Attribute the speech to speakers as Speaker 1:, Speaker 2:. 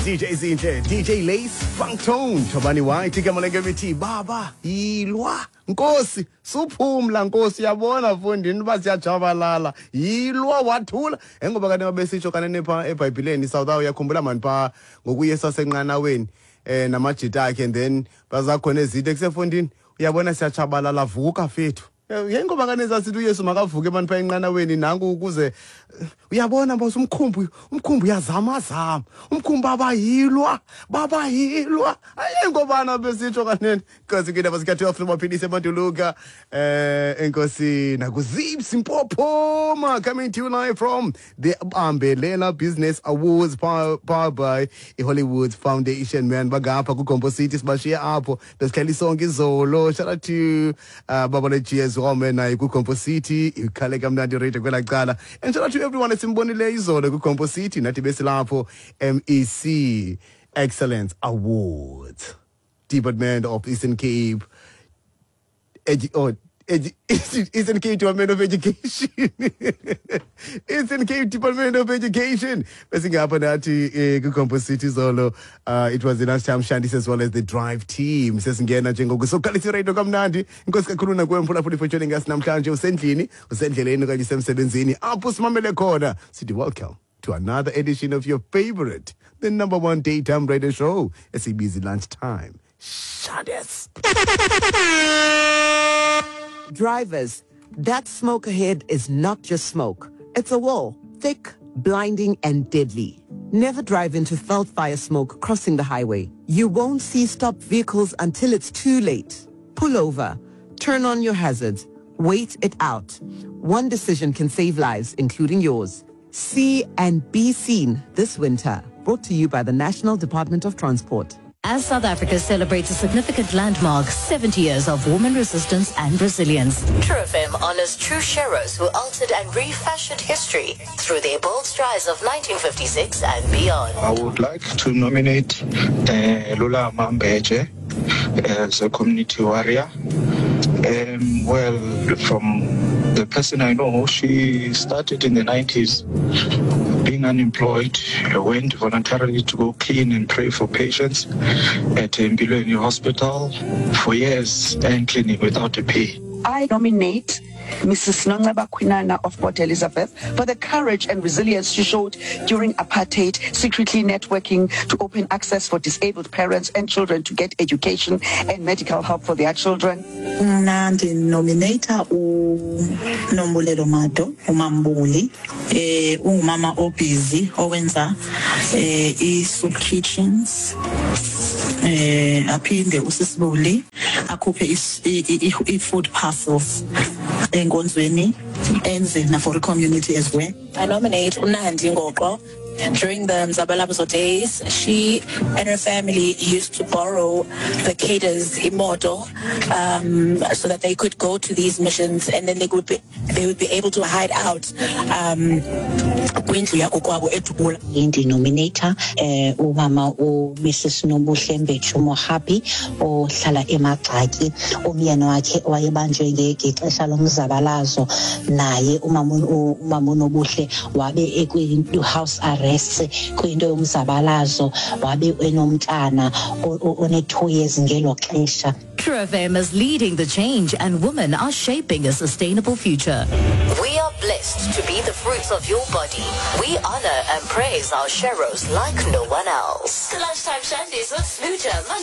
Speaker 1: DJ Zinhle, DJ Lace, Funk Tone, Thobani White, igama lengemithi baba yilwa Nkosi, suphumla Nkosi, uyabona mfondini uba siyajabalala, yilwa wathula. Engoba kanti babesitsho kanene pha eBhayibhileni South, uyakhumbula mani pha ngokuYesu asenqanaweni namajita akhe, and then bazakhona ezinto ekusefondini, uyabona siyachabalala, vuka fethu. Yengoba kane sasithi uYesu makavuke mani pha enqanaweni nanku ukuze uyabona mos umkhumbi uyazamazama, umkhumbi babayilwa babayilwa. Ayengobana besitsho kanene. Nkosi ke ndaba zika 12 maphilisi eManduluka, enkosi nakuZips Mpophoma, coming to you live from the Bambelela Business Awards powered by iHollywood Foundation, man. Bagapha kuGompo City, sibashiya apho besihleli sonke izolo. Shout out to Babale G as well, man, naye kuGompo City, ikhale kamnandi radio kwela cala. And shout out to everyone esimbonile izolo kuGompo City, nathi besilapho MEC Excellence Awards, Department of Eastern Cape Eastern Cape Department of Education, Eastern Cape Department of Education. Besingapha nathi kuGompo City zolo. It was the Lunchtime Shandis as well as the drive team. Sesingena njengoku soqalisa iradio kamnandi. Inkosi kakhulu nakuwe mphulaphuli for joining us namhlanje, usendlini, usendleleni okanye usemsebenzini, apho simamele khona, sithi welcome to another edition of your favorite, the number one daytime radio show, esibizi Lunchtime Shandis.
Speaker 2: Drivers, that smoke ahead is not just smoke. It's a wall, thick, blinding, and deadly. Never drive into felt fire smoke crossing the highway. You won't see stopped vehicles until it's too late. Pull over, turn on your hazards, wait it out. One decision can save lives, including yours. See and be seen this winter. Brought to you by the National Department of Transport.
Speaker 3: As South Africa celebrates a significant landmark, 70 years of woman resistance and resilience, True FM honors true sheroes who altered and refashioned history through their bold strides of 1956 and beyond.
Speaker 4: I would like to nominate Lula Mambeje as a community warrior. Well, from the person I know, she started in the 90s being unemployed, went voluntarily to go clean and pray for patients at Mbilweni Hospital for years and cleaning without a pay.
Speaker 5: I nominate Mrs. Nonceba Kwinana of Port Elizabeth for the courage and resilience she showed during apartheid, secretly networking to open access for disabled parents and children to get education and medical help for their children.
Speaker 6: Mna ndinomineyitha uNombulelo Mado, uMambuli, ungumama obhizi owenza i-soup kitchens, aphinde usisibuli akhuphe i-food parcels enkonzweni, enze na for community as well.
Speaker 7: I nominate uNandi Ngoqo. During the Mzabalazo days, she and her family used to borrow the cadres imoto so that they could go to these missions, and then they would be able to hide out kwindlu yakokwabo eDubula.
Speaker 8: Ndinominata umama uMrs Nobuhle Mbetshu Mohapi ohlala eMagxaki. Umyeni wakhe wayebanjwe ngexesha lomzabalazo, naye umama uNobuhle wabe ekwi-house arrest kwinto yomzabalazo, wabe enomntana one-2 years ngelo xesha.
Speaker 3: True FM is leading the change, and women are shaping a sustainable future.
Speaker 9: We are blessed to be the fruits of your body. We honor and praise our sheroes like no one else.
Speaker 3: The Lunchtime Shandies with Smooja, Monday